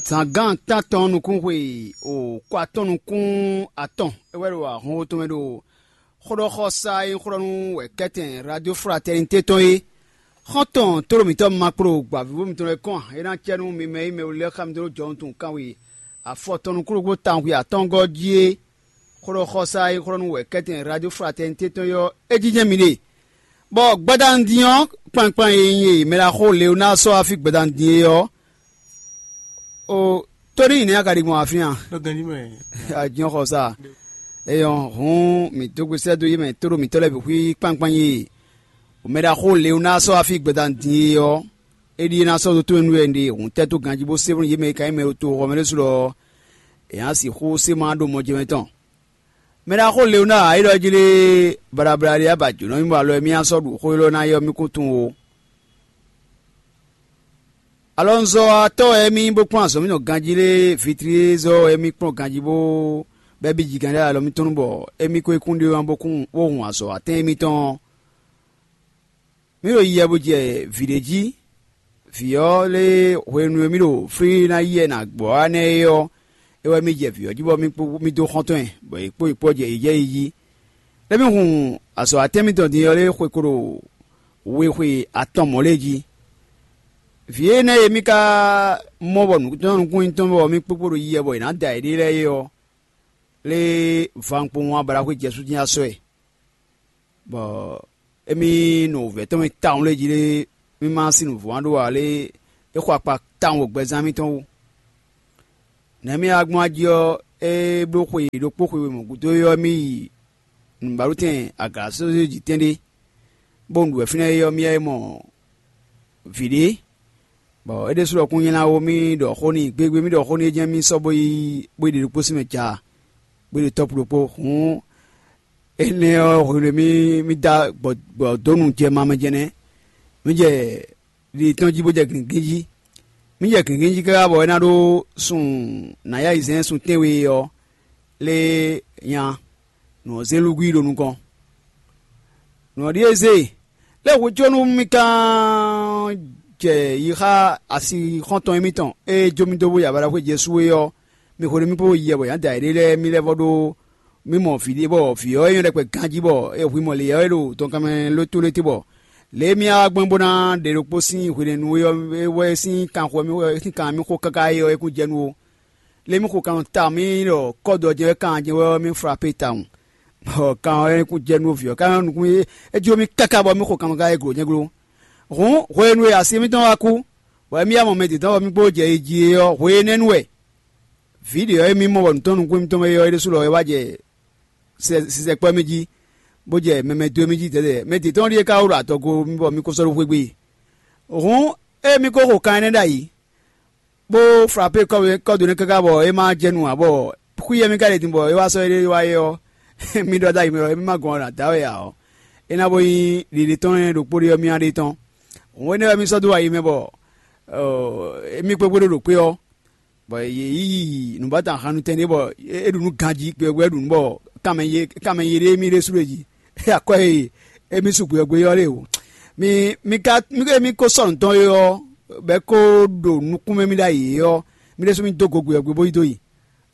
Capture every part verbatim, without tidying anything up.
Zǎngán tántɔn nukúnxwe o kɔ atɔn nukún atɔn é wɛ ɖo ahɔnwo tɔn mɛ ɖo xóɖɔxɔsá e nyí xó ɖɔ nú wɛ̌kɛ́tɛn Radio Fraternité tɔn é. Xɔ́ntɔn tóɖo mǐtɔn ma kpló gbǎvíbú mitɔn lɛ́ɛ kɔn ǎ. É ná cɛ nú mi mɛ e nyí mɛ we lɛ́ɛ xá mi dó jɔhɔn tunwun kanwe afɔ tɔn nukúnɖokpó tawun xwe atɔ́ɔ́ngɔ́ jí é. Xó ɖɔ xɔsá e xó ɖɔ nú wɛ̌kɛ́tɛn Radio Fraternité tɔn é ɔ́, é jínjɛ́n mi ɖe. Bɔ gbadanu din ɔ́, kpankpan e nyí e mɛ ɖaxó Leonáa sɔ́ wá fí gbadanu din é ɔ́, o tóní nɛ̌ a ka ɖi gbɔn afin a? Ɖo ganjí mɛ. Ajínxɔsá. Eyɔn hǔn mǐ dó gbe sɛ́ dó yé mɛ tóɖo mǐtɔn lɛ́ɛ bǐ xwí kpankpan e mɛ ɖaxó Leonáa sɔ́ wá fí gbadanu din é ɔ́, é ɖíe ná sɔ́ dó tónú nú wɛ un ɖe hǔn tɛ́ dó ganjí bó sé bónú yě mɛ e ka nyí mɛ e ɖo toxɔ mɛ ɖésú lɔ ɔ́, è nǎ sixú sé má ɖó mɔjɛmɛ tɔn. Mɛ ɖaxó Leonáa é ɖɔ jí lé, baɖabaɖa ɖé abǎ jǒnɔ mì bɔ alɔ e mì ná sɔ́ ɖu xó élɔ́ ná é ɔ́, mì kún tunwun ó. Alɔnuzɔ́watɔ́ wɛ émí bó kplɔ́n azɔ̌ mitɔn ganjí lé, vitrízɔ́ wɛ émí kplɔ́n ganjí bó bɛ́ bíjigán ɖé alɔ mitɔn nu bɔ émí ko yi kún ɖé ɔ́ bó kún bó hun azɔ̌ atɛ́n émítɔn ɔ́. Mǐ ɖo yiyɛ bó jɛ vǐ ɖé jí. Vǐ ɔ́ lé hwenu e mì ɖo flí ná yi wɛ nǎ gbɔ wá nɛ́ é ɔ́, é wɛ mì jɛ vǐ ɔ́ jí bɔ mì kpó mì dó xɔ́ntɔn ɛ, bɔ yě kpó yě kpó jɛ yi jɛ yi jí. Lé mì hun azɔ̌ atɛ́n mitɔn din ɔ́ lé xwe ko ɖo we xwe atɔn mɔ̌ lɛ́ɛ jí. Vǐ énɛ́ e mì ka mɔ bɔ nǔtɔ́nnukún nyí tɔn bɔ mì kpókpó ɖo yiyɛ bɔ è nǎ da yěɖée lɛ́ɛ é ɔ́, lé vankpowun ablaxwé jɛ sú dín asɔ́ ɛ, bɔ émí nɔ wǔvɛ́ tɔn mɛ tawun lé jí lé, mì ma sín nǔvɔ́ ǎ ɖó ǎ lé, é xɔ akpa tawun ɖo gbɛzán mitɔn wú. Nɛ̌ mì wá gbɔn ají ɔ́, é bló xwe ɖokpó xwe wěma gúdo é ɔ́, mì yi nǔbálutɛn agǎsózéji tɛ́nɖé, bó un ɖu wɛ fínɛ́ é ɔ́, mì yɛ mɔ vǐ ɖé, bɔ é ɖésú ɖɔkun nylá ó, mì ɖɔ xó n'i gbégbé, mì ɖɔ xó n'i é jɛ́n mì sɔ́ bó yi bó yi ɖe ɖokpó sín mɛ ja, bó yi ɖe tɔ́pú ɖokpó. Hǔn énɛ́ ɔ́, hwenu e mì mì da gbɔ gbɔ dó nu jɛ mamɛ jɛnɛ, mì jɛ ɖiɖi tɔn jí bó jɛ gǐngín jí. Mì jɛ gǐngín jí káká bɔ é ná ɖó sun nǎ yá yi zɛ́n sun tɛ́nwe ɔ́, lé nya nǔ ɔ́ zé lúgwí ɖo nukɔn. Nǔ ɔ́ ɖíe zé, lé hwecónú mì kán jɛ yi xá asi xɔ́ntɔn émítɔn e jó mì dó bó yi abalaxwé Jezu é ɔ́, mi hwenu mì kpó yi yɛ bɔ yǎ da yěɖée lɛ́ɛ mì lɛ́ vɔ ɖó mì mɔ vǐ ɖé bɔ vǐ ɔ́ é nyɔ́ ɖɛkpɛ ganjí bɔ é hwi mɔ lě ɔ́ é ɖo tɔnkanmɛ lótólété bɔ lě e mì wá gbɛn bó ná ɖe ɖokpó sín hwenɛ́nu é ɔ́ é wɛ sín kanxɔ mì sín kan mì xo káká é ɔ́ é kún jɛ nú ó. Lě mì xo kan ta mì ɖɔ kɔ́dɔ jɛ́n wɛ kan jɛ́n wɛ ɔ́ mì frape tawun. Bɔ kan ɔ́ é kún jɛ nú vǐ ɔ́ ká nukún é é jó mì káká bɔ mì xo kan ka é glo nyɛ́ glo. Hǔn hwenu e asi mǐtɔn wá kú, bɔ émí yá mɔ mɛ dǐndɔ́n bɔ mì kpó jɛ yi jí é ɔ́, hwe énɛ́ nu wɛ vǐ ɖě ɔ́ e mì mɔ bɔ nǔtɔn nukún mitɔn mɛ é ɔ́ é ɖésú lɔ é wá jɛ sisɛkpɔ́ mì jí, bó jɛ mɛmɛ dó mì jí dɛ̌dɛ̌. Mɛ dǐndɔn ɖíe ka wú ɖo adɔgo mì bɔ mì ko sɔ́ ɖó xwé gbe. Hǔn ée mì ko xo kan énɛ́ ɖ'ayǐ, bó frape kɔ́dó nɛ́ káká bɔ é ma jɛ nu ǎ, bɔ xwíyɛ́ mì ka ɖe din bɔ é wá sɔ́ éɖée wá é ɔ́, mì ɖɔ ɖ'ayǐ mɛ ɔ́, émí ma gɔn ɔ́ nǎ da wɛ ǎ ɔ́, é ná bó nyí ɖiɖe tɔn lɛ́ɛ ɖokpó ɖé ɔ́ mì ná ɖe tɔn. Hǔn énɛ́ wɛ mì sɔ́ dó ayi mɛ bɔ mì kpékpé ɖo ɖo kpé ɔ́, bɔ yě yi nǔbátan hannutɛn ɖé bɔ é ɖu nǔ ganjí gbɛgbɛ ɖu nǔ bɔ kanmɛ ye kanmɛ ye ɖé mì ɖésú ɖo jí. Akwɛ́ e émí su gbeyɔ́gbeyɔ́ lé o. Mi mi ka mi émí ko sɔ́ nǔ tɔn é ɔ́, bɔ é ko ɖo nukún mɛ mì ɖ'ayǐ é ɔ́, mì ɖésú mì dó go gbeyɔ́gbe bó yi dó yi.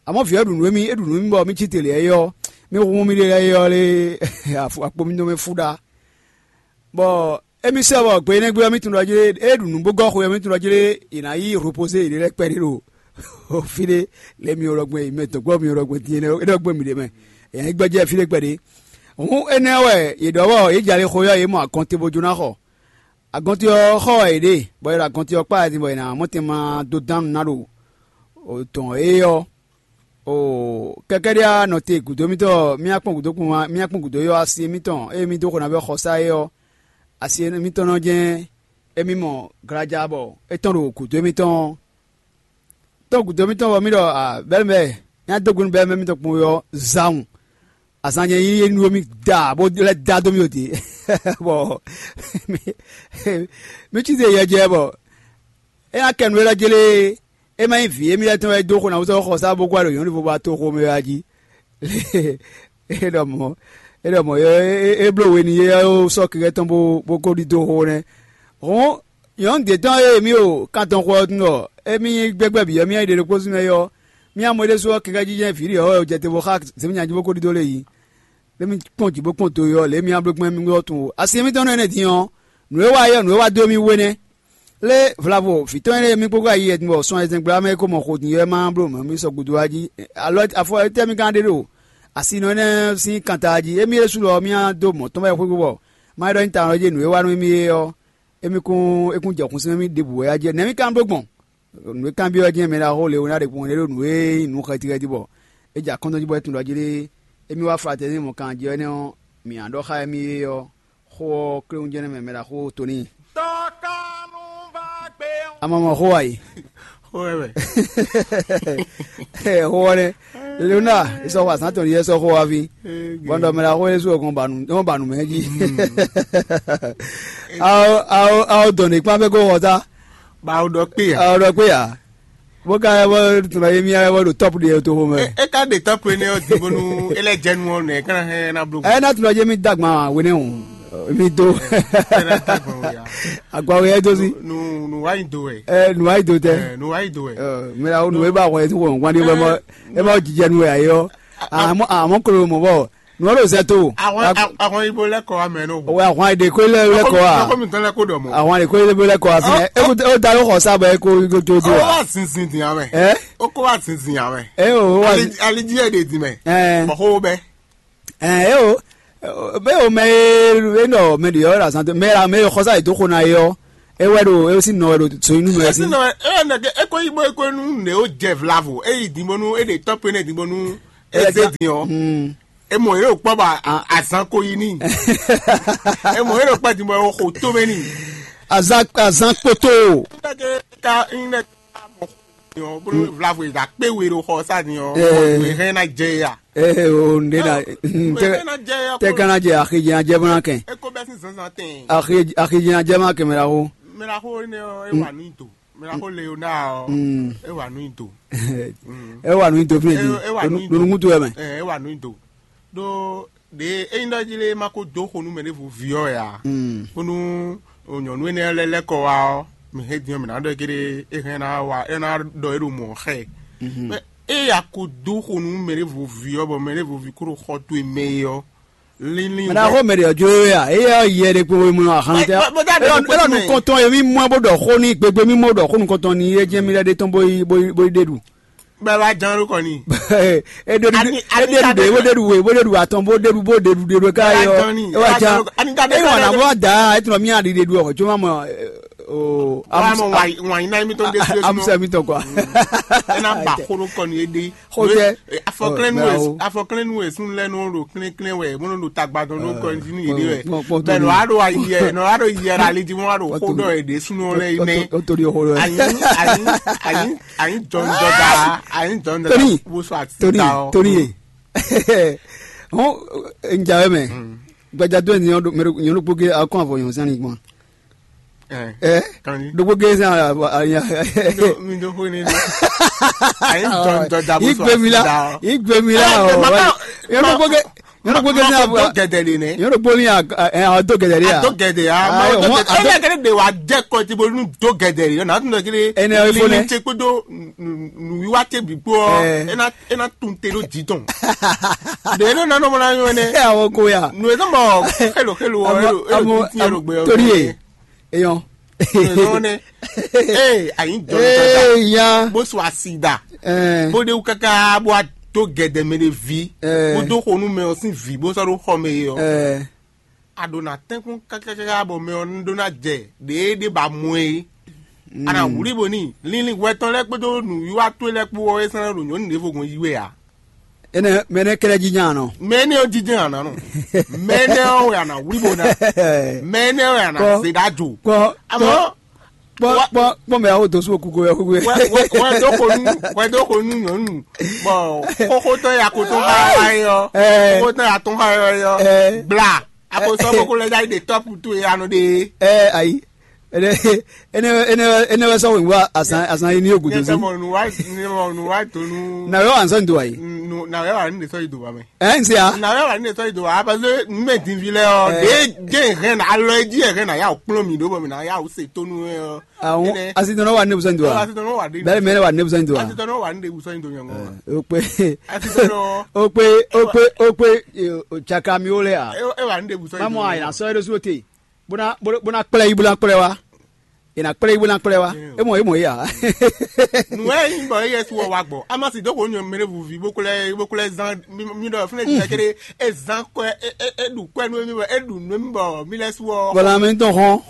Amɔ̌ vǐ ɔ́ ɖu nǔ émí é ɖu nǔ émí bɔ mì cí te lě é ɔ́, mì hun mì ɖe lɛ́ɛ é ɔ́ lé akpo mì dó mɛ fú ɖá. Bɔ émí sɛ bɔ gbe énɛ́ gbe ɔ́, mì tunwun ɖɔ jlé é ɖu nǔ bó gɔ́ xwe ɔ́, mì tunwun ɖɔ jlé è nǎ yí hwepozé yě ɖé lɛ́ɛ kpɛɖé ɖo fí ɖé lě mì ɖɔ gbɛn mɛ dɔ̌gbɔ mì ɖɔ gbɛn din é ɖɔ gbɛn mì ɖě mɛ. È nǎ yi gbɛjɛ fí ɖé kpɛɖé. Hǔn énɛ́ wɛ yě ɖɔ bɔ yě jɛ ali xo ɔ́, yě mɔ agɔnte bó jó ná xɔ. Agɔnte ɔ́ xɔ wɛ yě ɖe, bɔ è ɖo agɔnte ɔ́ kpá din bɔ è nǎ mɔ tɛn ma dó dán nǔ ná ɖo dɔ̌n é ɔ́. Oo, kɛkɛ́ɖé ɔ́, nɔ te gǔdo mitɔn, mì kpɔ́n gǔdo kpɔn mì kpɔ́n gǔdo ɔ́, asi mitɔn ée mì dó xo ná vɛ́ xɔsá é ɔ́, asi mitɔn nɔ jɛ́n émí mɔ glaja bɔ é tɔn ɖo gǔdo mitɔn ɔ́. Tɔn gǔdo mitɔn bɔ mì ɖɔ bɛ́lɛ́mɛ nya dó gbe nú bɛ́lɛ́mɛ mitɔn kpɔn ɔ́, zawun azan jɛ yíyí nú mì da bó lɛ́ da dó mì ɖo dě. Bɔ mì cí se yɛ jɛ bɔ é nya kɛ nǔ élɔ́ jlé. É ma nyí vǐ émí lɛ́ɛ tɔn wɛ dó xo ná wúsɔ xɔsá bó gbá ɖo nyɔ̌nu vo ba toxo mɛ wá jí. É ɖɔ mɔ̌ é ɖɔ mɔ̌ é bló we n'i é sɔ́ kɛkɛ́ tɔn bó bó ko ɖidó xo nɛ́. Hɔn Nyɔ̌nu d'é tɔn e mì ɖo kan tɔn xo ɔ́ tunwun ɖɔ émí nyí gbɛgbɛ́ bǐ ɔ́, mì nyí ɖe ɖokpó zún mɛ é ɔ́, mì wá mɔ é ɖésú ɔ́, kɛkɛ́ jínjɔ́n vǐ ɖě ɔ́ wɛ jɛ te bó xá zěmí nya jí bó ko ɖidó lé yi. Ɖé mì kpɔ́n jǐ bó kpɔ́n do e ɔ́, lě e mì wá bló gbɔn mì ɔ́ tunwun. Asi e mì tɔn nɔ énɛ́ din ɔ́, nǔ e wa é ɔ́, nǔ e wa dó mì wú énɛ́. Lé vlavo vǐ tɔn énɛ́ e mì kpókpó ayi yɛtɛn bɔ sɔn ayizɛ́ngbla mɛ é ko mɔ xo din ɔ́, é ma bló mɔ̌ mì sɔgbe dó wá jí. Alɔ afɔ étɛ́ mì ka ɖe ɖo asinɔ énɛ́ sín kanta jí? Émí ɖésú lɔ mì dó mɔ̌ tɔn wɛ xwé bɔ má ɖɔ nyi tawun jí nǔ e wa nú émí é ɔ́, émí kún é kún jɛ xun sín mì ɖěbǔ wɛ á jɛ nɛ̌ mì ka bló gbɔn? Nǔ e kanbyɔ́ ɔ́ jɛ́n mɛ ɖaxó Leonáɖe kpɔ́n é ɖo nǔ e nyí nǔ xɛtiɣɛti bɔ é jɛ akɔ́ntɔn jí bɔ é tunwun ɖɔ jí ɖé. Émí wá fratɛ́nní mɔ kan jí ɔ́, énɛ́ ɔ́, mǐ ǎ ɖɔ xá émí é ɔ́, xó ɔ́ kléwún jɛ́n nɛ́ mɛ mɛ ɖaxó Toníi. A ma mɔ xó wa yi? Xó wɛ wɛ. Xó ɔ́ nɛ́. Leona, é sɔ́ xó azǎn tɔn ɖíe sɔ́ xó wá fí. Bɔn ɖɔ mɛ ɖaxó Yésu ɔ́ gbɔn ba nǔ ba nǔ mɛ jí. Awo awo awo dɔn ɖe kpán fɛ kó xɔ ta. Ba awo ɖɔ kpé ya. Awo ɖɔ kpé ya. Bó ka wɛ bɔ tun ye mía wɛ bɔ ɖo tɔpu ɖe toxo mɛ. É ka ɖe tɔpu énɛ́ ɔ́ din bónú é lɛ́ jɛ nu ɔ́ nɛ é ka ná hɛn ná bló. Ɛ ná tun ɔ́ jɛ mi dagban wénɛ o. Mi do. Agba wɛ do si. Nu nu wa yi do wɛ. Ɛ nu wa yi do tɛ. Ɛ nu wa yi do wɛ. Mɛ la o nu e ba wɛ ti wɔn wan de wɛ mɔ e ma jijɛ nu wɛ ayi ɔ. Amɔ amɔ kolo mɔ bɔ nu ɔlɔ zɛ to. Àwọn àwọn ibo lẹkọọ amẹ n'o. O àwọn èdè kó lẹ lẹkọọ a. Kó mi tán lẹkọọ dọ mọ. Àwọn èdè kó lẹ lẹkọọ a fi. Ẹ kó da yóò xɔ sábà ẹ kó tó do Ó a. Wá zinzin dìnyà mẹ. Ẹ Ó kó wá zinzin yà mẹ. Ẹ o wá. Alidzi ẹ de dì mẹ. Ẹ Mọ xó bẹ. Ẹ o. Bẹ́ẹ̀ o mɛ e nɔ mɛ ɖe yɔ la zan mɛ la mɛ xɔsa yi dó xo na yɔ. E wɛ ɖo e si nɔ wɛ ɖo so inú mɛ si. Ɛsìn náà ẹ ẹ nẹgẹ eko yibo eko nu ne o jẹ vlavo eyi dimbonu e de tɔpɛ ne dimbonu eze din ɔ. E mɔ yɛrɛ o kpɔ ba azan ko yi ni. E mɔ yɛrɛ o kpɔ dimbɔ o xo to mɛ ni. Azan azan kpoto. Nɛgɛ ka nɛgɛ ka mɔ xo ni ɔ bolo vlavo yi da kpe we ɖo xɔ sa ni ɔ. Ɔ hɛn na jɛ ya. Ee o nɖe na. Hɛn na jɛ ya. Tɛ kana jɛ axijɛ ajɛ bana kɛn. Eko bɛ sin zanzan tɛn. Axijɛ ajɛ ma kɛmɛ la ko. Mɛ la ko ne ɔ e wa nu do. Mira ko Leonard ɔ, e wa nu do. E wa nu do fi di. Nunu kutu wɛ mɛ. E wa nu do. Ɖo ɖe eyin ɖɔ jí lé ma ko dó xo nú mɛ ɖěvo vi ɔ́ ya. Bónú nyɔ̌nu énɛ́ lɛ́ lɛ́ kɔ wá ɔ́, mi hɛn din ɔ́, mǐ ná ɖɔ é kéɖé é hɛn ná wa é ná ɖɔ é ɖo mɔ̌ xɛ. Mɛ ée a ko dó xo nú mɛ ɖěvo vi ɔ́, bɔ mɛ ɖěvo vi kó ɖo xɔ towe mɛ é ɔ́, Mɛ ɖaxó mɛ ɖě ɔ́ jló we a? Éyɛ́ ɔ́ yɛ ɖé kpó we mlɔ́ ahan tɛ. Bó dá ɖe Élɔ́ nukɔntɔn e mì mɔ ɛ bó ɖɔ xó n'i gbegbe, mì mɔ ɖɔ xó nukɔntɔn n'i é jɛ́n mì lɛ́ ɖe tɔn bó yi bó yi bó yi ɖe ɖu. Bɛ wá ján ló kɔ ni. É ɖe ɖu Ani- é ani ɖe ɖu ka ɖe ɖe bó ɖe- ɖe ɖu we bó ɖe ɖu atɔn bó ɖe ɖu bó ɖe ɖu ɖe ɖu ká Bɛ yɔ. Ján ni. É wá Bɛ ján. Ján. Ani ka ɖe É wà ká nà ɖe- bó wá dǎ é tún mì aɖi ɖe ɖu ɔ̀xɔ jó má mɔ. O Wá mɔ wà wà yín náà mi tó ń dé sílé súnmọ́. Amusa mi tɔn kɔ. Ẹ náà bà xó ló kọ ni é dé. Xó jẹ́. Afɔklɛ́nú Ɔ, wɛ bravo. Afɔklɛ́nú wɛ sún lɛ́ nɔ ɖo klɛ́nklɛ́n wɛ bó nɔ ɖo tagba dɔn ɖó kɔnjínú yě ɖe wɛ. Kpɔn- kpɔn- kpɔn Bɛn nɔ Tony. Wá ɖo ayi yɛ nɔ wá ɖo yɛ la lidi mɔ wá ɖo Kpɔn xó Tony. Dɔ yɛ ɖe súnú lɛ yi nɛ. Ó tó di xó lɛ. Ayi ayi ayi ayi jɔn jɔda ayi jɔn jɔda Tony. Wo sɔ ati Tony ta ɔ. Tony ye. Hɔn njawe mɛ. Gbadza do ni nyɔnu kpó ke akɔn avɔ nyɔnu sani gbɔn. Ɛ Kan ɖokpó gé sɛn anya. Mi ɖo xó ne ɖo. Ayi dɔn dɔ da bó so Igbe mi la, asi da. Igbe mi la Ɛ, o. Mama, Yɔrɔ kpó gé, yɔrɔ kpó gé sɛn Mama abo. Do gɛdɛ de nɛ. Yɔrɔ kpó mi a ɛ a do gɛdɛ de a. A do gɛdɛ a. Ah, Ma do wọn- gɛdɛ. Ɛ yɛ kɛlɛ de wa jɛ kɔ ti bo nu do gɛdɛ de. Na tun dɔ kele. Ɛnɛ o ifo nɛ. Tse kpo do nu wiwa te bi kpo. Ɛ. Ena ena tun te ɖo dzi tɔn. Ɖe nɔ nanɔ mɔ na nyɔ nɛ. Ɛ awɔ ko ya. Nu e zɔn bɔ xelo xelo wɔ Amo elo elo amo titi elo amo gbɛ tori ye. Eyɔn. Nɔ nɛ. Ee ayi jɔ Ee ya. Bó so asi da. Ɛɛ. Bó de wu kaka bó a do gɛdɛ mɛ de vi. Ɛɛ. Bó do xonu mɛ ɔ sin vi bó sɔ ɖo xɔ mɛ ye ɔ. Ɛɛ. A ɖo na tɛnkpɔn kákákáká bɔ mɛ ɔ ɖó ná jɛ ɖě ɖé ba mɔ é. A nà wlí bo ní linlin hwɛ tɔn lɛ́ɛ kpódó nǔwiwa towe lɛ́ɛ kpó ɔ́ é sɛ́n ɖo nyɔ̌nu ɖěvo gbɔn yi wɛ ǎ. Énɛ́ mɛ énɛ́ kɛ́ɖɛ́ jí nya nɔ. Mɛ énɛ́ ɔ́ jí jɛ́n a nǎ nɔ. Mɛ énɛ́ ɔ́ wɛ a nǎ wlí bo ná. Mɛ énɛ́ ɔ́ wɛ a nǎ Kpɔ́, zé ɖó ajo. Kpɔ́, Amɔ̌ kpɔ́, kpɔ́, kpɔ́, kpɔ́ mɛ awo dǒ sú okúkú wɛ kúkú. Wɛ wɛ wɛ dó xo nú wɛ dó xo nú nyɔ̌nu bɔ xóxótɔ́ ya ko tɔn xá wá é ɔ́. Ɛ. Xóxótɔ́ ya tɔn xá wá é ɔ́. Ɛ. Bla a ko sɔ́ kókó lɛ́ dá yi ɖe tɔ́pu towe anɔ ɖe. Ɛ ayi. Énɛ́ énɛ́ énɛ́ énɛ́ wɛ sɔ́ wěwá azǎn azǎn yi ní yógǔdó Nyɛ sí. Tɛ mɔ nǔ wá nyɛ mɔ nǔ wá donu. Nǎ wɛ wà ń sɔ́ nyi do wǎ yi. Nǔ nǎ wɛ wà ní ɖe sɔ́ yi do wá mɛ. Ɛ ń se a? Nǎ wɛ wà ní ɖe sɔ́ yi do wá parce que nǔ mɛ din vi lɛ ɔ Ɛ. Ɖě jẹ́ hɛn alɔ e jí hɛn nǎ yá wò kplɔ́n mì ɖó bɔ mì nǎ yá wò se tónú ɛ ɔ. Àwọn Énɛ́. Asitɔnɔ wà ní ebusɔn do wa. Asitɔnɔ wà ní Bẹ́ẹ̀ mẹ́rin wà ní ebusɔn do wa. Asitɔnɔ wà ní ɖe sɔ́ yi do nyɛ ŋɔ. O pé Asitɔnɔ o pé o pé o pé o caka mi wo lɛ a. E wà ní ɖe sɔ́ yi do. Mamu a yina sɔ́ yɛ ɖó súró te. Bó ná bó ná kplɛ yí bó ná kplɛ wá. È nǎ kplé yí bó ná kplé wá. É mɔ é mɔ é ǎ. Nǔ e nyí bɔ éyɛ́ su ɔ́ wá gbɔ. Amasi dó xo nyɔ mɛ ɖé vuví bó kplé bó kplé zán mí ɖɔ fúnɛ́ jɛ kéré é zán kɔ́ é é é ɖu kɔ́ nú émí bɔ é ɖu nú émí bɔ mí lɛ́ su ɔ́. Bɔ lanmɛ tɔn hɔn.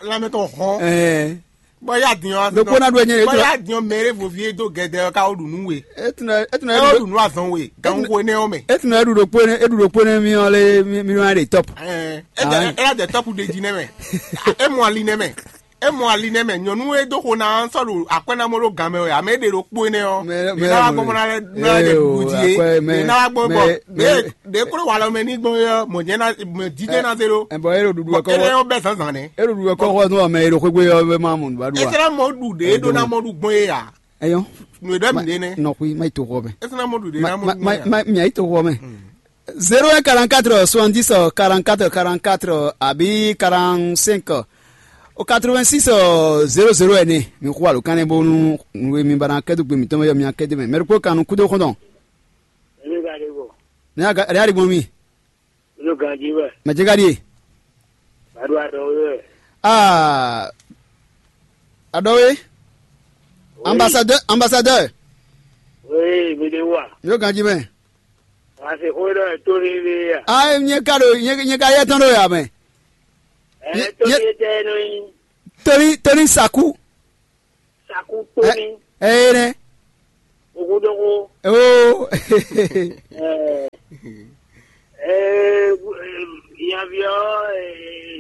Lanmɛ tɔn hɔn. Ɛɛ. Bɔ yá din ɔ́. Ɖokpó ná ɖu ɛnyɛ. Bɔ yá din ɔ́ mɛ ɖé vuví é dó gɛdɛ ɔ́ ká ó ɖu nú we. É tún ɛ é tún ɛ É ó ɖu nú azɔn we. Gan wo énɛ́ ɔ́ mɛ. É tún ɛ ɖu ɖokpó énɛ́ é ɖu ɖokpó énɛ́ mí ɔ́ lé mí mí wá ɖe tɔ́p. Ɛɛ. É jɛ é jɛ tɔ́pu ɖe jí nɛ́ mɛ. É mɔ ali nɛ́ mɛ. É mɔ ali nɛ́ mɛ nyɔ̌nu e dó xo ná sɔ́ ɖo akwɛ́ ná mɔ ɖó gan mɛ wɛ ame e ɖe ɖokpó énɛ́ ɔ́. Mɛ- Mɛ mɛ- ná wá gbɔn bɔ ná lɛ́ ná lɛ́ ɖe ee, ɖuɖu jí é. Akwɛ́ mɛ- Mɛ ná wá gbɔn bɔ mɛ- mɛ- ɖě kplé walɔ mɛ ní gbɔn é ɔ́ mɔ̌ jẹ́ ná mɛ dídé ná zé ɖó. Ɛ bɔ é ɖo ɖuɖu Bɔ wɛ kɔ énɛ́ ɔ́ bɛ́ zǎnzǎn nɛ́. É ɖo ɖuɖu wɛ kɔ xɔ nú ɔmɛ e ɖo xwé gbé ɔ́ wɛ má mɔ nǔɖuɖu É ǎ. Sɛ́ ná mɔ ɖu ɖě é ɖó ná mɔ ɖu gbɔn é ǎ. Ɛyɔ. Nǔ e ɖɔ mǐ ɖe nɛ́. Nɔxui má yi to xɔ mɛ. É sɛ́ ná mɔ ɖu ɖě ná mɔ ɖu gbɔn é ǎ. Má má má má yi to xɔ mɛ. Zéro un quarante-quatre soixante-dix quarante-quatre quarante-quatre àbí quarante-cinq au quatre-vingt-six zéro zéro ɛnɛ mi xo alo kanɛ bónú nú mi ba ná kɛdó gbe mǐtɔn mɛ yɔ mi akɛdó mɛ mɛ ɖokpó kan nú kúdó xɔntɔn. Èmi ka ɖe bɔ? Ní a ɖe aɖi gbɔn mi. Ló ganjí wɛ. Mɛ jɛ ka ɖi. Bàdó àdó wɛ. Aa. Adɔwe. Ambassadeur ambassadeur. Oui, mi ɖe wa. Mi ɖo ganjí mɛ. Wàá se xó ɖɔ tó ní ní yà. Ayi nyɛ ka ɖo nyɛ nyɛ ka yɛ tɔn ɖo yà mɛ. Ɛ Ye- tó ye- ní tɛ nɔ yí. Tóní tóní saku. Saku tó Ɛ ní. Ɛ yé nɛ. Ogun dɔgbo. Oo. Ɛ ɛ yanviɔ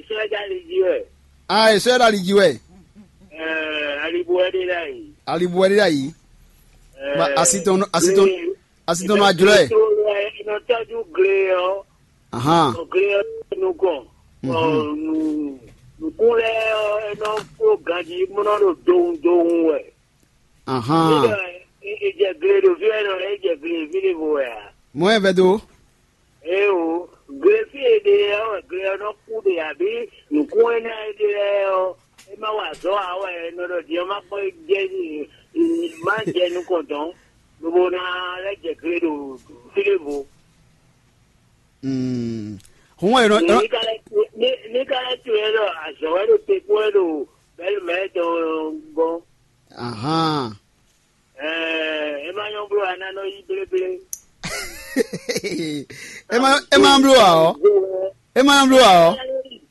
sɔja li ji wɛ. Aa esɔ yɛ ɖo ali ji wɛ. Ɛ alibu wɛ de la yi. Alibu wɛ ɖe ɖo ayi. Ba asi tɔn asi tɔn asi tɔn nɔ ajlɔ yɛ. Nɔ tɔjú gle ɔ. Ahan. Gle ɔ nukɔn. Nukun lɛ ɔ nɔ kó ganji mɔnɔ ɖo dohun dohun wɛ. Ahan. Nígbà ìjẹ̀gbìn ló fi ẹ̀rọ ìjẹ̀gbìn ìbílẹ̀ bò wẹ̀ à. Mɔ ɛ vɛ do. Ẹ o, glefi èdè ẹ wẹ̀ gle ɔ́ nɔ kú ɖe àbí nǔkún énɛ́ èdè ɛ ɔ́, é má wa azɔ̌ ǎ wɛ nɔ ɖɔ din ɔ́ má kpɔ́n jɛ má jɛ nukɔn dɔn, lobo ná lɛ́ jɛ gle ɖo fílé vo. Hǔn wɛ è nɔ. Ní ká lɛ́ tu ní ní ká lɛ́ tu ɛ ɖɔ azɔ̌ wɛ ɖo te kpó ɛ ɖo bɛ́lu mɛ tɔn gɔ́n. Ahan. Ɛɛ, é má nyɔ́ bló a ná nɔ yí bléblé. É má é má bló ǎ ɔ́. É má bló ǎ ɔ́.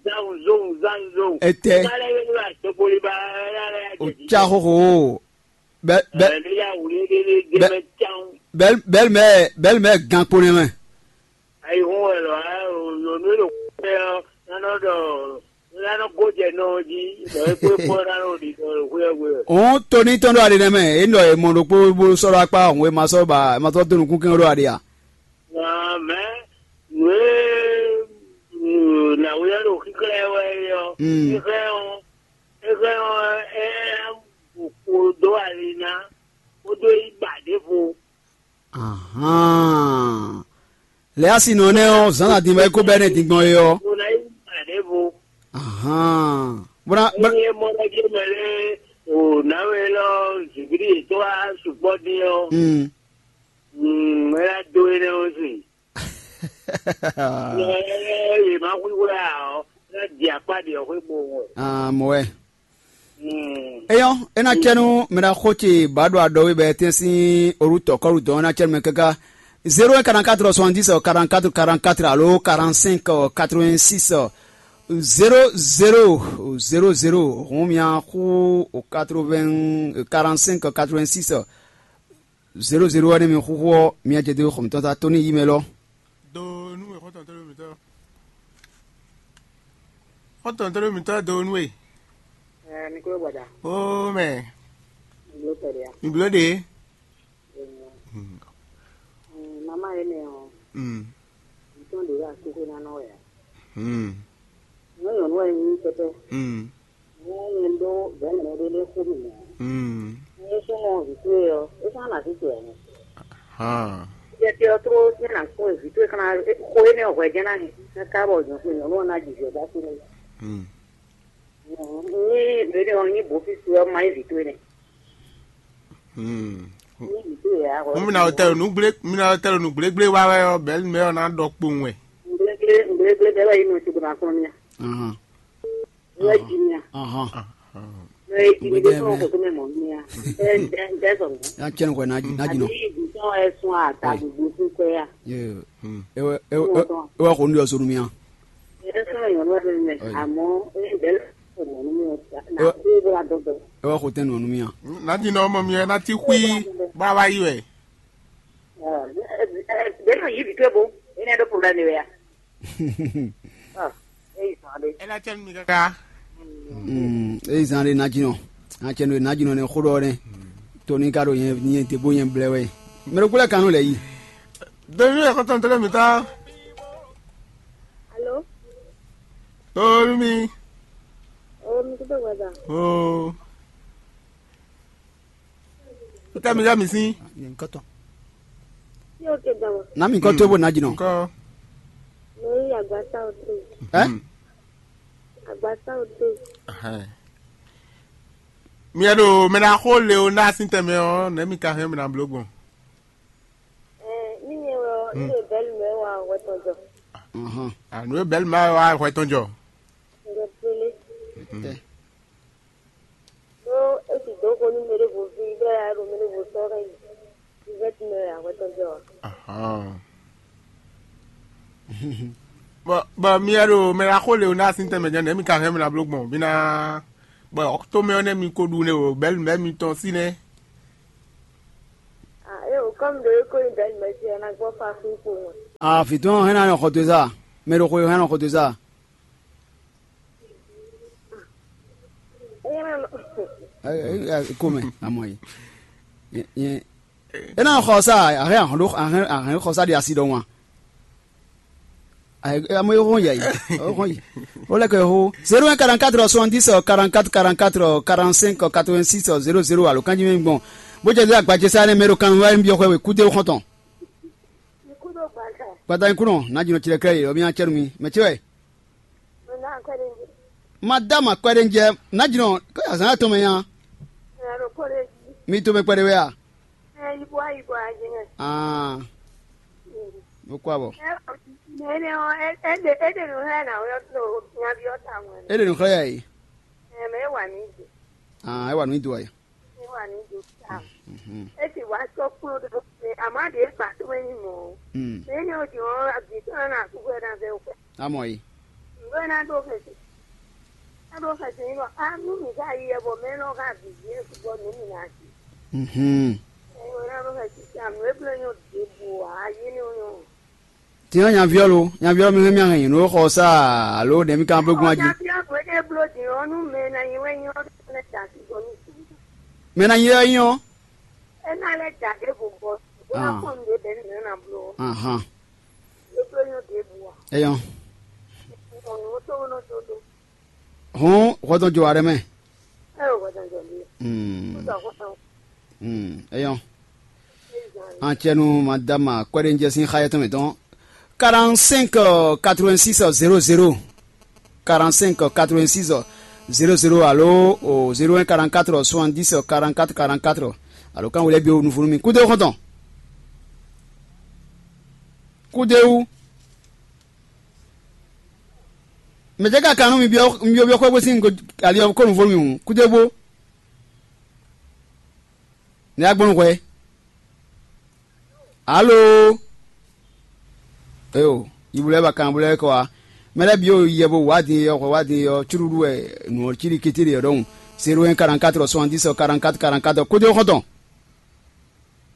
Zan zon zan zon. Etɛ. Má lɛ́ yé bló àtɔkpoli ba ɛ ɛ ɛ. O ca xoxo o. Bɛ bɛ Ɛɛ, ní yà wuli ní ní dé Bɛ- mɛ can. Bɛl bɛl mɛ bɛl mɛ gan kpo nɛ mɛ. Ayi hun wɛ lɔ ɛ o yonu e ɖo kpɛ ɔ nánɔ ɖɔ nánɔ gojɛ nɔ ɔ jí ɖɔ é kpó kpɔ nánɔ ɖi ɖɔ xwé ɔ gbe. Òun tóní tɔn ɖo aɖe nɛ mɛ, é ɖɔ è mɔ ɖokpó bó sɔ́ ɖó akpá òun e ma sɔ́ ba è ma sɔ́ dó nukúnkɛn ɖó aɖe a? Mɛ nǔ e nǎwe ɔ́ ɖo xíxlɛ́ wɛ é ɔ́, Mm. xíxlɛ́ ɔ́, xíxlɛ́ ɔ́ é kpo dó ali ná, bó dó yi ba ɖěvo. Ahan. Lɛ̌ asi nɔ nɛ́ ɔ́, zǎn adingbɛ́ kó bɛ́ nɛ́ din gbɔn é ɔ́. Bó ná yi ba ɖěvo. Ahan. Bó ná bó ná Ényí é mɔ ɖɔ jé mɛ lé o nǎwe lɔ zǐngídi yětɔn wá sukpɔ́ dín ɔ́, Mm. mm, é ná dó énɛ́ ɔ́ sin. Yě má xwíxwé ǎ ɔ́, é ná di akpá ɖi ɔ́ xwé bo wɔ. Ah, mɔ wɛ. Mm. Eyɔn, é ná cɛ nú mɛ ɖaxó ce bǎ ɖo aɖɔwé bɔ é tɛ́n sín orútɔ kɔ́ɖu dɔn ɔ́ ná cɛ nú mɛ káká. Zéro un quarante-quatre soixante-dix quarante-quatre quarante-quatre alo quarante-cinq quatre-vingt-six zéro zéro zéro zéro. Hǔn mia xú quatre-vingts quarante-cinq quatre-vingt-six zéro zéro wɛ nú mi xúxú ɔ́, mia jɛ dó xɔmǐtɔn ta tó ní yi mɛ lɔ. Do nú we xɔ́ntɔn tó ló mǐtɔn. Xɔ́ntɔn tó ló mǐtɔn do nú we. Ɛ mi kúrò gbada. Ó mɛ. Ìlú tẹ̀lé a. Ìbló ɖe. Mama yɛ mɛ ɔ. Mm. Ntɔn de la kókó na nɔ ya. Mm. Nyɔnu wɛ ni pɛpɛ. Mm. Nyɛ ɖó vɛ̌ mɛ ɖé lé xó mì mɔ̌. Hmm. Ní súnmọ́ vǐ towe ɔ́, é sɔ́ ná zǐn towe ǎ. Hàn. Yɛ te ɔ́ tló ní nǎ kpɔ́n vǐ towe xlán xó énɛ́ ɔ́ hwɛ jɛ́n ná hɛn káká bɔ nyɔ̌nu ɔ́ ná jijɛ dó así n'i. Hmm. Ní mǐɖée ɔ́ nyí bǒ fí towe ɔ́ má nyí vǐ towe nɛ́. Hmm. Ní vǐ towe ǎ. Mú mi ná wɛ tɛ́ nǔ gblé mi ná wɛ tɛ́ nǔ gblégblé wá wɛ ɔ́, bɛ̌ mɛ ɔ́ ná ɖɔ kpowun wɛ. Ngblégbé ngblégbé bɛ́ wɛ yí nɔ tugbe ná kplɔ́n mì a. Ahàn. Wɛ jí mì a. Ahàn. Wɛ jí mì dé fún ọkọ̀ tó mẹ́ mọ̀ mì a. Ẹ ẹ ẹ sọ̀rọ̀. Ya cɛn kɔɛ na na jinɔ. Àbí ìdùnnú ẹ sun àtàgbègbè fún kọ́ ya. Ye. Hmm. Ewe ewe ewe ko nu yɔ sonu mi a. Ẹ sọ̀rọ̀ yọ̀ lọ́dọ̀ mẹ́. Ayi. Àmọ́ ẹ bẹ́ẹ̀ lọ́dọ̀ mọ́ mi ò ta. Nà kú bó la dọ́dọ̀. Ewe ko tẹ́ nu nu mi a. Ná jinɔ ọmọ mi ɛ ná ti xwí bá wá yí wɛ. Bẹ́ẹ̀ náà yí bìtú ebo. Ẹ ní ẹ dó problème wẹ̀ ya. Ah, ẹ yí sàn dé. Ẹ ná cɛ nu mi kaka. Mm, eyi zan ɖe najinɔ. Atsɛ ɖo najinɔ ne xó ɖɔ ne. To ní ka ɖo nyɛ nyɛ te bó nyɛ blɛ wɛ. Mɛ ɖo kúlẹ̀ kanú lɛ yi. Dèmí ẹ̀ kọ́tà ń tẹ́lẹ̀ mi ta. Alo. Tóórí mi. Omi tó tó gbàdá. Oo. Ó tẹ́ mi yá mi sí. Yẹn kɔtɔ. Tí o ke dama. Na mi kɔ tó bó najinɔ. Kọ́. Mo rí àgbàsá òtún. Ɛ? Àgbàsá òtún. Ahɛn. Mi ɛ ɖo mɛ na xó le o ná sí tɛmɛ ɔ nɛ mi ka hɛn mi na bló gbɔn. Ɛ ní nyɛ wɛ ɔ ní lè bɛ́lí mɛ wà wɛ tɔn jɔ. Ahɔn. Ànú e bɛ́lí mɛ wà hwɛ tɔn jɔ. Ǹjẹ́ pélé. Tɛ. Ɖó é si dǒ xo nú mɛ ɖěvo ví bɔ é wá ɖo mɛ ɖěvo sɔ́ hɛn yi. Vivɛ́ti mɛ wɛ akwɛ́ tɔn jɛ ɔ́. Ahɔn. Bɔ bɔ mi wɛ ɖo mɛ ɖaxó Leonási tɛnmɛ jɛ́n nɛ̌ mi ka hɛn mɛ ná bló gbɔn? Mi ná bɔ tomɛ ɔ́ nɛ́ mi ko ɖu nɛ o, bɛ̌lu bɛ̌ mitɔn sí nɛ́. Ah, é o kɔ́mi ɖo é ko nyí bɛ̌lu mɛ sí ɔ́ ná gbɔ fa kú kpo ŋɔ. Ah, vǐ tɔn hɛn ná nɔ xɔ do zá. Mɛ ɖo xo hɛn nɔ xɔ do zá. Ɛ, ɛ, ɛ, kome amɔ yi. Nyɛ, nyɛ, e na xɔ sa ahɛn ahɔn ɖo ahɛn ahɛn xɔ sa ɖi asi ɖɔ wan. Amɔ yi hɔn yɛ yi, hɔn yi. O lɛ kɛ ho zéro un quarante-quatre soixante-dix quarante-quatre quarante-quatre quarante-cinq quatre-vingt-six zéro zéro alo kanji mi gbɔn. Bó jɛ dé agbajɛ sa ne mɛ ɖo kan wá nbí xɔ we kúdé xɔntɔn. Gbata nyi kúnɔ na jìnnà tìrẹ kɛ yi, ɔ mi nya cɛnu mi mɛ ce wɛ. Madame Akɔɛɖenjɛ, ná jínɔ kó azǎn atɔn mɛ nya. Mi to mɛ kpɛɖé wɛ a? Aa, mo kó abɔ. Mɛ énɛ́ ɔ́, é é ɖe é ɖe nǔ xlɛ́ nǎwe ɔ́ ɖo nyaví ɔ́ tawun wɛ. É ɖe nǔ xlɛ́ yɛ yi. Ɛ mɛ é wà ní dě. Aa, é wà ní dǒ wɛ. Ní wà ní dǒ ta. Mhm. É sì wá sɔ́ kplɔ́n ɖé xwé, àmọ́ ɖě gbà tó é nyí mɔ̌. Mm. Mɛ énɛ́ ɔ́ din ɔ́, abǐ tɔn ná kú xwɛ ná vɛ xwɛ. Amɔ yi. Ǹgbɔ́ ná ɖó xɛsi. Ná ɖó xɛsi ní bɔ á nú mǐ ká yi ɛ bɔ mɛ nɔ ká bǐ jí é sukpɔ́ nǔ mǐ ná sí. Mhm. Ɛ ná ɖó xɛsi sí àmì é bló nyɔ ɖěbǔ ǎ, yé ní nyɔ. Tiɲɔ nyaviɔ lo, nyaviɔ mi hɛn mi ahɛn nyi nǔ xɔ sa alo ɖe mi kan bló gbɔn jí. Nyaviɔ ko é bló din ɔ́ nú mɛ ná nyi wɛ nyɔ lɛ da sí gbɔ ní. Mɛ ná nyi wɛ nyɔ. É ná lɛ da ɖěbǔ gbɔ. Bó ná kpɔn nǔ ɖé bɛ́ ní mɛ ná bló. Ahan. É bló nyɔ ɖěbǔ ǎ. Eyɔn. Ɔ̀nù ó tó nɔ tó tó. Hɔn hɔtɔn jɔ aɖe mɛ. Ɛ o hɔtɔn jɔ mi. Hmm. Ó sɔ hɔtɔn. Hmm. Eyɔn. Ancienne madame Kwerenje sin xayɛ tɔn mɛ tɔn. Quarante-cinq quatre-vingt-six zéro zéro. Quarante-cinq quatre-vingt-six zéro zéro alo o zéro un quarante-quatre soixante-dix quarante-quatre quarante-quatre. Alo kan wele bi o nufunu mi kude xɔntɔn. Kude wu. Mɛ jɛ ka kan nú mi byɔ́ mi byɔ́ byɔ́ xwé bó sín ali ɔ́ kó nufunu mi hǔn kude bó. Ne agbɔnnu hwɛ. Alo. Eyo, yibu lɛ ba kan bu lɛ kɔ wa. Mɛ lɛ bi o yɛ bo wa din yɔ hwɛ wa din yɔ curuɖu wɛ nu ɔ ciri kitiri yɔ dɔn. Zéro un quarante-quatre soixante-dix quarante-quatre quarante-quatre kude xɔntɔn.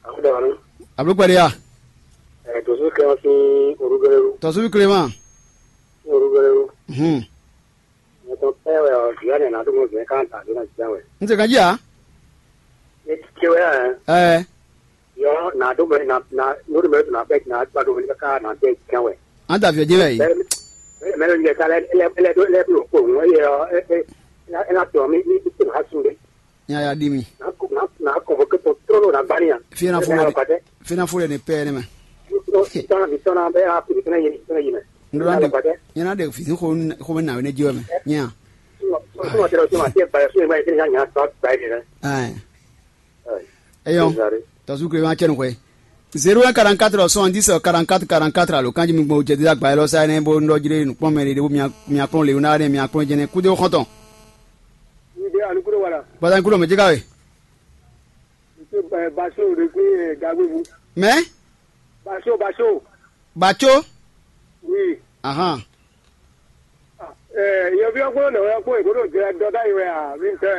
Akudabalu. Ablu kpɛɖe ya. Ɛ tɔsu kɛ ɔsi orugɛlɛlu. Tɔsu bi Clément. Orugɛlɛlu. Hmm. Mɛ tɔn pɛ wɛ ɔ, Yohane na ɖo mɔ zɛn kan ta ɖo na jɛ wɛ. N se kan ji a? E ti ce wɛ ɛ. Ɛ. Yɔ na ɖo mɛ na na n'o ɖo mɛ na bɛ na gba ɖo mɛ ka na bɛ jɛ wɛ. An da fiɔ jɛ wɛ yi. Mɛ mɛ lɛ ka lɛ lɛ lɛ do lɛ do ko ŋɔ ye ɔ e e. Ena, ena tɔ mi mi mi tɛmɛ asu ɖe. Nya ya ɖi mi. Na ko na na ko bo ke to trɔ na bani ya. Fina fo Ena ɖe. Ba de. Fina fo ɖe ne pɛ ne mɛ. Tɔn tɔn na bi tɔn na bɛ a kuli tɔn na yeli tɔn na yeli. Ndo na de. Ba de. Nya na de fi ko ko me na we ne jiwa mɛ. Nya. Suma suma tɛrɛ suma tɛ ba so ma tɛ nya nya tɔ ba de. Ai. Eyɔn. Tɔsu kle ma cɛ nu xwe. Zéro un quarante-quatre soixante-dix quarante-quatre quarante-quatre alo kanji mi gbɔn jɛ dídá gba yɛlɛ sa ne bo ndɔ jire nukpɔn mɛ ɖe bo mia mia kplɔn le na ne mia kplɔn jɛnɛ kudo xɔntɔn. Ide alukuro wala. Bata kudo mɛ jika we. Monsieur Basso de kwe Gagbebu. Mɛ? Basso Basso. Batso. Oui. Ahan. Yɔvi ɔkpɔ nɔ ɔkpɔ ìgbódò jẹ dɔdá yi wɛ a mi tɛ.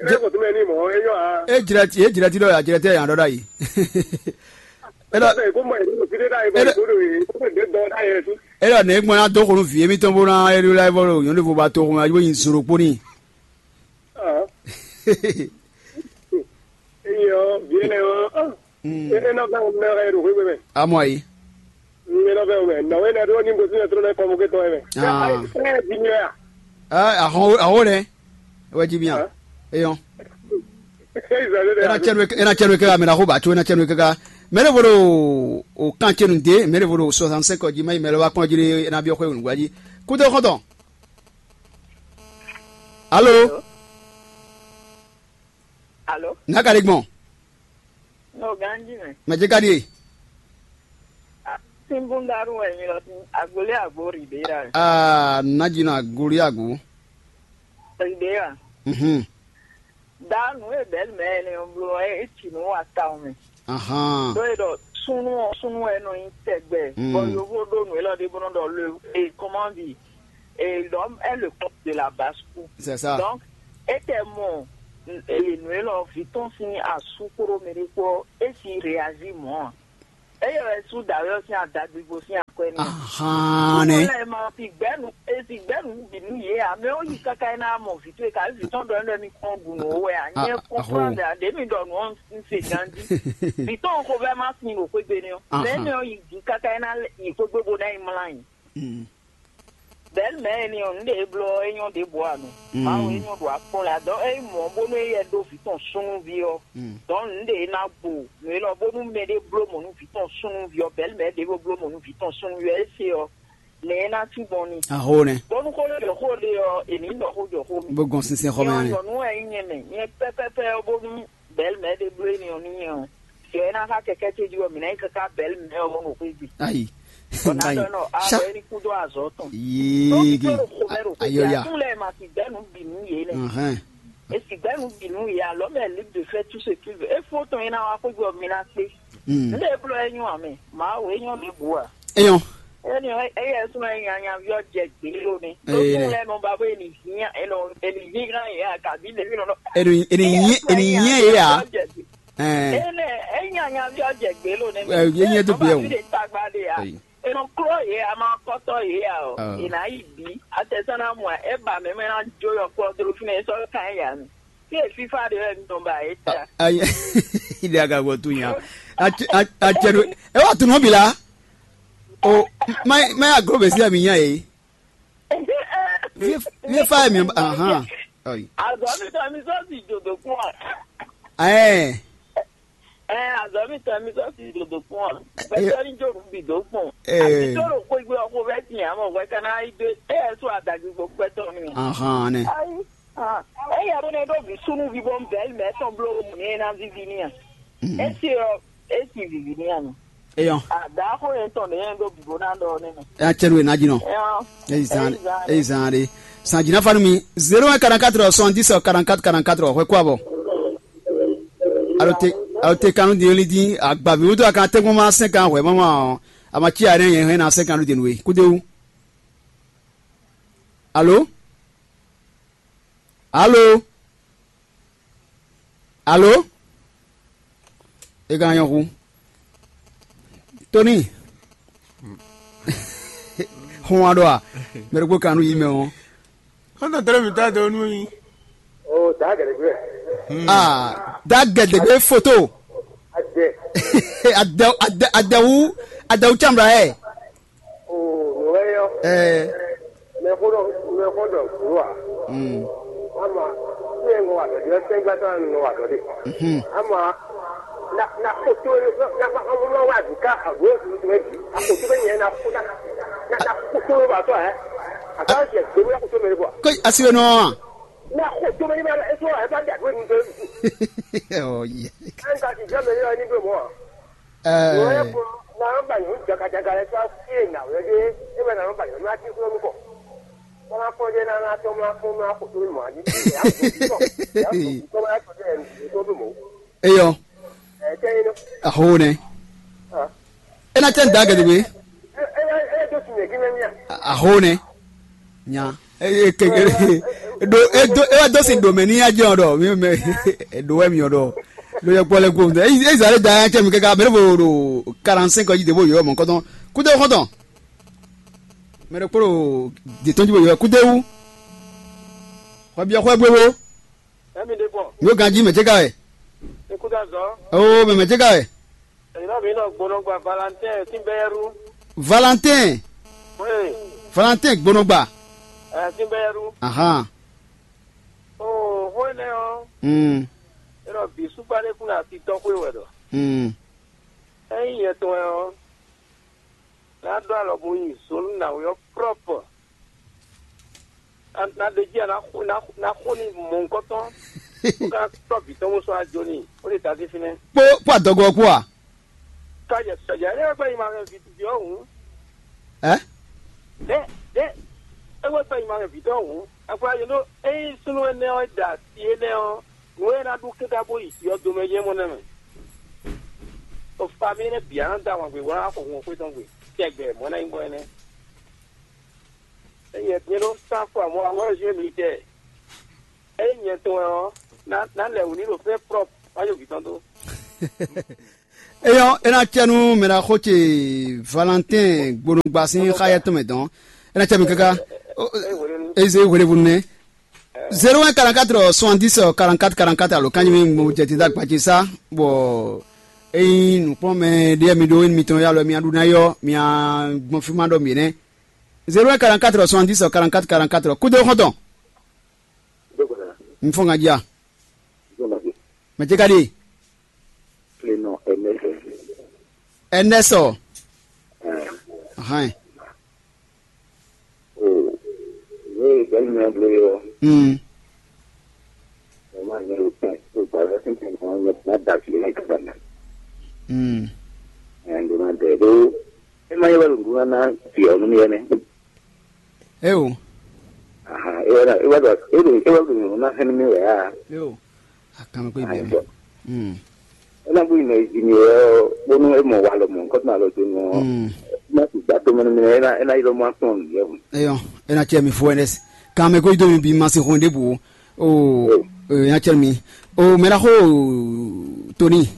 Ebe kò tún bɛ ní mɔ eyɔ a. E jira ti e jira ti dɔ ya jira tɛ yan dɔ da yi. Ebe kò mɔ ìgbódò fi dé dá yi bɔ ìgbódò yi kò tún dé dɔ dá yɛ tu. E dɔ ne gbɔn na dɔ kɔnɔ vi emi tɔn bo na eri la bɔ lo yɔn de fo ba to kɔnɔ ayi bo yin zoro kponi. Eyɔ biɛnɛ ɔ. Enɔ bɛ mɛ ɛ ɖo xwé mɛ. Amɔ yi. Enɔ bɛ mɛ nɔ wɛ nɛ ɖo ní bosí nɛ trɔ nɛ kɔmɔ kɛtɔ yɛ mɛ. Aa. Ɛ di mi ya. Aa ahɔn ahɔn nɛ. Wɛ ji mi a. Eyɔn. Ena cɛnu ena cɛnu kɛka mɛ na xo ba tso ena cɛnu kɛka. Mɛ ne vo ɖo o kan cɛnu de mɛ ne vo ɖo soixante-cinq ji ma yi mɛ lɛ wa kpɔn ji ena bi xwe wun gbaji. Kudo xɔtɔn. Alo. Alo. N'a ka ɖe gbɔn? N'o ganji mɛ. Mɛ ce ka ɖie? Sinbundaru wɛ nyi lɔ sin agoli agbo Ribeira. Aa, n'a dzi nɔ agoli agbo. Ribeira. Mhm. Da nu e bɛli mɛ ne bló e tsi nu wa ta mɛ. Ahan. Ɖó e ɖɔ súnú ɔ́ súnú wɛ nɔ nyi tɛgbɛ. Mm. Bɔ yovo ɖó nǔ élɔ́ ɖé bó nɔ ɖɔ le e comment dire, et l'homme est le corps de la basse-cour. C'est ça. Donc, e tɛ mɔ e nǔ élɔ́ vǐ tɔn sín asú kpódó mɛ ɖé kpó e si réagit mɔ̌ a? Eye wɛ sú dǎwe ɔ́ sín adagbigbó sín akwɛ́ n'i. Ahan nɛ. Lɛ ma si gbɛnu e si gbɛnu bǐ nú yě ǎ. Mɛ ɔ́ yi káká é ná mɔ vǐ towe ká vǐ tɔn ɖɔ énɛ́ mi kpɔ́n ɖu nǔ ó wɛ ǎ. Nyɛ kɔnflán ɖě mi ɖɔ nǔ ɔ́ un se ganjí. Vǐ tɔn xovɛ́ má sin ɖo xwé gbe n'i ɔ́. Mɛ énɛ́ ɔ́ yi jǐ káká é ná yi xwé gbe bó ná yi mlá nyi. Bɛ̌ mɛ̌ e ni ɔ́, nǔ ɖě e bló ɔ́, é nyɔ́ ɖěbǔ ǎ nú. Mawu e nyɔ́ ɖo akpɔ́n lɛ adɔ̌ é nyí mɔ̌ bónú é yɛ ɖó vǐ tɔn súnnuví ɔ́, dɔ̌n nǔ ɖě e ná gbo nǔ élɔ́ bónú mɛɖé bló mɔ̌ nú vǐ tɔn súnnuví ɔ́, bɛ̌ mɛ̌ ɖěvo bló mɔ̌ nú vǐ tɔn súnnuví ɔ́, é se ɔ́, nɛ̌ é ná cí gbɔn n'i? Aho nɛ. Bónú xó jɔ xó ɖe ɔ́, è nǐ ɖɔ xó jɔ xó mɛ. Bó gɔn sínsɛ́n xɔ mɛ Nyɛ ɔ́, nɛ. Nyɔ̌nu wɛ nyí nyɛ mɛ, nyɛ pɛ́pɛ́pɛ́ ɔ́ bónú bɛ̌ mɛ̌ ɖě bló énɛ́ ɔ́ nú nyɛ ɔ́, jɔ é ná xá kɛkɛ́ ce jí ɔ́, mǐ ná nyí káká bɛ̌ mɛ ɔ́ ɖo xwé gbe. Ayi. Bɔ ná Ayi. Ɖɔ nɔ Sa. Awɔ é ní kúdó azɔ̌ tɔn. Yéé Tó gé. Tó xo mɛ ɖo xwé gbe. Ayɔya. Atún lɛ́ɛ ma si gbɛ́ nǔ bǐ nú yě nɛ́. Ahɛn. E si gbɛ́ nǔ bǐ nú yě alɔ mɛ libre de faire tout ce qu'il veut. É fó tɔn é ná wá xwé gbe ɔ́, mi ná kpé. Mm. Nde é bló é nyɔ́ amɛ. Mawu é nyɔ́ ɖěbǔ a? Eyɔn. Énɛ́ éyɛ́ súnmọ́ é nya nyaví ɔ́ jɛ gbě ló nɛ́. Tó Ee, fún nɛ. Lɛ́ɛ nɔ ba bó é ní hín é nɔ é ní hín gán yě a kàbí lě nɔ. Eni eni nyi eni nyi ye ya. Ɛɛ. Ene enya nyaví ɔ́ jɛ gbě ló nɛ́ mɛ. Ɛ, yé nyɛ dó gbé o. Ɖe tagba ɖe ya. Ayi. Enɔ klɔ yě a ma kɔtɔ yě ya o. Ah. Ena yi bi atɛsana mu a eba mɛ mɛ na jo yɔ kplɔ dro fi nɛ sɔ kan ya mi. Fi e fifa ɖe wɛ mi nɔ ba e ta. Ayi. Ide aga gbɔ tu nya. Atse atse do. E wa tu nɔ bi la. O ma ma ya gro besi ya mi nya ye. Vie fa mi ahan. Ayi. Azɔ mi tɔ mi sɔ si jodo kún a. Ɛɛ. Ɛ azɔ mi tɔ mi sɔ si jodo kún a. Bɛtɛ ni jo nu bi do kpɔn. Ee. Abi to ro kwe gbe ɔkọ bɛ tiɲɛ amɔ wɛ kana yi do e yɛ so adagbe gbɔ kpɛtɔ mi. Ahan ne. Ayi. Ah, e yɛ bo ne ɖo vi sunu vi bɔ bɛli mɛ tɔn blo mu ne na vivi ni a. Esi ɔ esi vivi ni a mi. Eyɔn. Ada ko yɛn tɔn ne yɛn ɖo bibo na ɖɔ ne mɛ. Ɛ cɛ nu e na dzi nɔ. Eyɔn. Eyi zan eyi zan de. San dzi na fa nu mi zero un quarante-quatre soixante-dix quarante-quatre quarante-quatre hwɛ kó abɔ. Alo te alo te kanu di oli di agbavi wutu akan tɛgbɔn ma sɛn kan hwɛ mama ɔ ama tsi a ne yɛn hɛn na sɛn kanu di nu we kudewu. Alo. Alo. Alo. E ka nyɔ hu. Tony. Hun wa ɖo a? Mɛ ɖokpó kan nu yi mɛ o. Kɔntɔn tɛlɛ mi ta dɔ nu yi. O da gɛdɛgbɛ. Ah, da gɛdɛgbɛ foto. Adɛ. Adɛ adɛ adɛwu adɛwu tsambra yɛ. O nɔgɔyɔ. Ɛɛ. Mɛ ko dɔ mɛ ko dɔ kuru wa. Mm. Ngɔ wa dɔ de, sɛn gba tɔn ngɔ wa dɔ de. Mhm. Ama na na ko to na na ma ma wa du ka a go du to bi. A ko to be nyɛ na ko na na na ko to ba to eh. A ka je do ya ko to me ko. Ko asiwe nɔ. Na ko to me ba eso e ba da ko ni do. Oh yeah. An ka ti jɔ me ni do mo. Wɛ Eh. Ko na ba yo jaga jaga le sa fi na wɛ de. E ba na ba yo na ti ko ko. Ko na ko de na na to ma ko na ko to mo ani. Ko ma ko de ko mo. Eyɔ. Ɛ tɛ yin nɔ. Aho nɛ. Ah. E na tɛ n da gɛdɛgbe. E e e do si nyɛ gimɛ mia. Aho nɛ. Nya. E e ke e do e do e wa do si do mɛ ni ya jɛ ɔ dɔ mi mɛ e do wɛ mi ɔ dɔ. Lo yɛ kpɔ lɛ ko. E e zale da ya cɛ mi kaka mɛ bo do quarante-cinq ji de bo yɔ mɔ kɔtɔn. Kude kɔtɔn. Mɛ ɖokpó ɖo dǐtɔ́n jí bó ylɔ́ kúdéwú. Xɔ byɔ́ xwɛ gbéwó. Ɛmi ɖe bɔ. Yóò ganjí mɛ céka wɛ. Ikúdazɔ. Oo, mɛ mɛ céka wɛ. Ɛyìnbá mi nɔ gbónɔ gba Valentin Simbɛyɛrú. Valentin. Oui. Valentin gbónɔ gba. Ɛ Simbɛyɛrú. Ahan. Oo, xó énɛ́ ɔ́. Hmm. É nɔ bǐ súgbá ɖé kún asi tɔn xwé wɛ ɖɔ. Hmm. Ényí nyɛ tɔn wɛ ɔ́, ná ɖó alɔ bo nyi zǒnú nǎwe ɔ́ prɔ́pɔ. Na ɖe jí a ná xo ná ná xo ní mɔ̌hunkɔtɔn, bó ka tɔ́ vǐ tɔn bó sɔ́ ajo n'i, bó ɖe ta dé fínɛ́. Kpó kpó adɔgɔ ɔ́ kpó a? Ká yɛ sɔjà é wɛ gbɛ́ nyi ma hɛn vǐ ví ɔ́ hǔn. Ɛ? Ɖě ɖě é wɛ gbɛ́ nyi ma hɛn vǐ tɔn hǔn. Agbla yě ɖó ényí súnnu énɛ́ ɔ́ da asi énɛ́ ɔ́, nǔ e é ná ɖu kɛ́ɖá bó yi vǐ ɔ́ domɛ nyɛ mɔ nɛ́ mɛ. O fa mi énɛ́ bǐ á nɔ dó ahwan gbe bó ná xo hun xwé tɔn gbe. Tɛgbɛ mɔ̌ ná nyí gbɔn énɛ́. Ényí nyɛ din ɖó sán fɔ amɔ amɔ jí mi tɛ. Ényí nyɛ tɔn wɛ ɔ́, ná ná lɛ wǔ ní ɖo fɛ́ prɔ́p má yɔ vǐ tɔn dó. Eyɔ́, é ná cɛ nú mɛ ɖaxó ce Valentin gbonugba sín xáyɛ tɔn mɛ dɔn. É ná cɛ mi káká. Eze hwelevunu nɛ. Zéro un quarante-quatre soixante-dix quarante-quatre quarante-quatre alo kanji mi mo jɛ tita gbaji sa bɔ eyin nukplɔnmɛ ɖe mi ɖo enu mitɔn ya lɔ mi aɖu na yɔ mi agbɔn fi ma ɖɔ mi nɛ. Zéro un quarante-quatre soixante-dix quarante-quatre quarante-quatre kudo xɔntɔn. N fɔ ŋa jia. Mɛ ce ka ɖi? Enɛsɔ. Hɛn. O, ne bɛn mɛ ble yɔ. Mm. Ɛ ma nyɛ o pɛn o ba lɛ sin pɛn ma nyɛ na da fi ne ka ba na. Mm. Ɛ ndo na de do. E ma yɛ ba do na na fi o nu mi ne. E o. Aha, e wa e wa do e do e wa do na hen mi ya. E o. Akanmɛ ko ibi. Mm. Ena bu ina ejimi wɛ bonu emɔ walɔ mɔ nkɔtɔ alɔ do nɔ. Mm. Na ti gba to mɛnɛ mɛnɛ ena ena yɔrɔ ma tɔn yɛ. Eyɔ, ena cɛ mi fo ɛnɛs. Kan mɛ ko ido mi bi ma se hɔn de bu. O, ena cɛ mi. O mɛ na xo toni.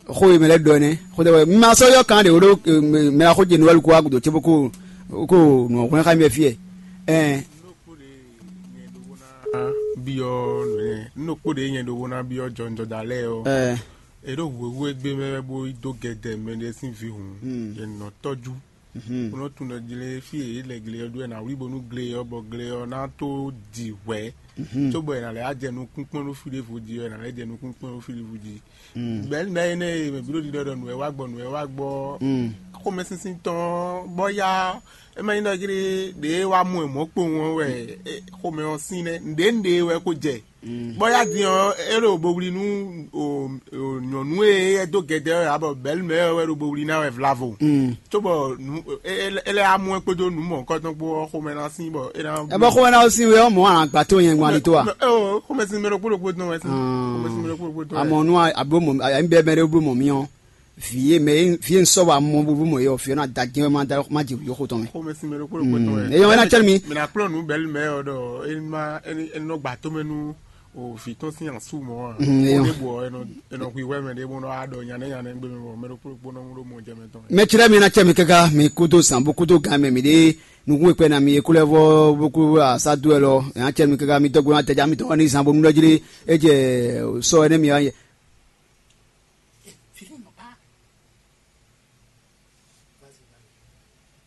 Xo e mɛ lɛ dɔ ɛnɛ. Xo de wɛ ma sɔ yɔ kan de o do mɛ na xo je nuwɛlu ko agudo ce bo ko ko nɔ hɔn xa mi fie. Ɛ. Nɔ kpo ɖe nyɛ ɖo wo ná byɔ́ nǔ nyɛ nɔ kpo ɖe nyɛ ɖo wo ná byɔ́ jɔnjɔda lɛ́ɛ ɔ́. Ɛ. E ɖo hwehwú e gbé mɛ wɛ bó yi dó gɛdɛ mɛ ɖé sín vǐ hǔn, yě nɔ tɔ́jú. Bó nɔ tunwun ɖɔ jlé fí e yě lɛ gle ɔ́ ɖó wɛ ná wlí bónú gle ɔ́ bɔ gle ɔ́ ná tó di hwɛ̌. Cóbɔ è nǎ lɛ́ wá jɛ nukún kpɔ́n ɖó fí ɖěvo jí ɔ́, è nǎ lɛ́ jɛ nukún kpɔ́n ɖó fí ɖěvo jí. Bɛ̌ lɛ́ énɛ́ e mɛ bǐ ɖo ɖiɖɔ ɖɔ nǔ wɛ wá gbɔ nǔ wɛ wá gbɔ. Xomɛsinsin tɔn bɔ ya é ma nyí ɖɔ jlé ɖě wá mɔ ɛ mɔ̌ kpowun ɔ́ wɛ xomɛ ɔ́ sín nɛ́ nǔɖé nǔɖé wɛ ko jɛ. Bɔ ya din ɔ́ é ɖo bo wlí nú nyɔ̌nu e é dó gɛdɛ ɔ́ ǎ bɔ bɛ̌lu mɛ ɔ́ wɛ ɖo bo wlí ná wɛ vlavo. Cóbɔ é lɛ́ amú ɛ kpódó nǔ mɔ̌hunkɔtɔn kpó ɔ́ xomɛ ná sín bɔ é ná. Ɛ bɔ xomɛ ná sín wɛ ɔ́ mɔ alǎgbá tó yẹn ŋwan ní tó a? Xomɛsin mɛ ɖokpó ɖokpó tɔn wɛ sín. Xomɛsin mɛ ɖokpó ɖokpó tɔn wɛ. Àmọ́ nú àbí mọ̀ àyà ń bẹ mɛ ɖé bló mọ̀ mí ɔ́. Vǐ e mɛ vǐ e un sɔ́ wa mɔ búbú mɔ é ɔ́, vǐ ɔ́ ná da jɛ́n má da má jɛ yǒxo tɔn mɛ. Xomɛsin mɛ ɖokpó ɖokpó tɔn wɛ. Eyɔn wɛ ná cɛ́ mi. Mɛ ná kplɔ́n nǔ bɛ̌lu mɛ ɔ́ ɖɔ é má é nɔ gbà tó mɛ nú o vǐ tɔn sín asú mɔ̌ ǎ. Eyɔn. Ó ɖe bɔ é nɔ é nɔ hwihwɛ́ mɛ ɖé bó nɔ wá ɖɔ nyanɛ́ nyanɛ́ gbé mɛ bɔ mɛ ɖokpó ɖokpó nɔ ɖó mɔ jɛ mɛ tɔn. Mɛ cɛ́ mi ná cɛ́ mi káká mi kúdó zǎn bó kúdó gan mɛ mi ɖé nukún e kpɛ ná mi e kú lɛ́ vɔ bó kú asá dó wɛ lɔ ná cɛ́ mi káká mi dɔ́ gbé ná tɛjá mi tɔn ní zǎn bónú lɔ́ jlé é jɛ sɔ ɛnɛ́ mi wá yɛ.